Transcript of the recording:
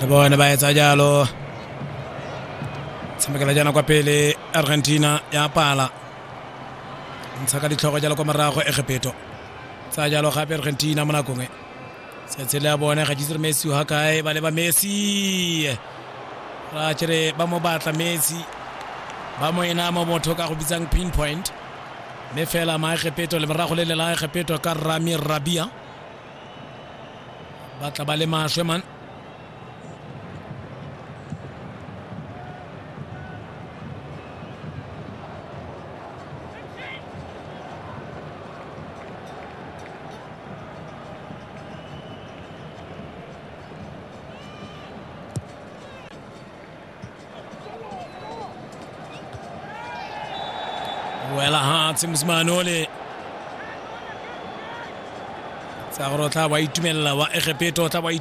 Le bone ba etsa jalo. Tshamekela jaana kwa pele Argentina ya pala. Ntsha ka ditlhogo jalo kwa morago Egepeto. Tsa jalo gape Argentina mo nakong e. Setshele ya bone ga ke itse Messi ga kae ba leba Messi. Ra tšere ba mo batla Messi. Ba mo ena mo motho ka go bitsang pinpoint. Mme fela Maegepeto le morago le le la Egepeto ka Rami Rabia. Ba tla ba le maswe man. Wela hatshe mosimane ole tsa gore o tla wa itumelela wa Egepeto o tla wa.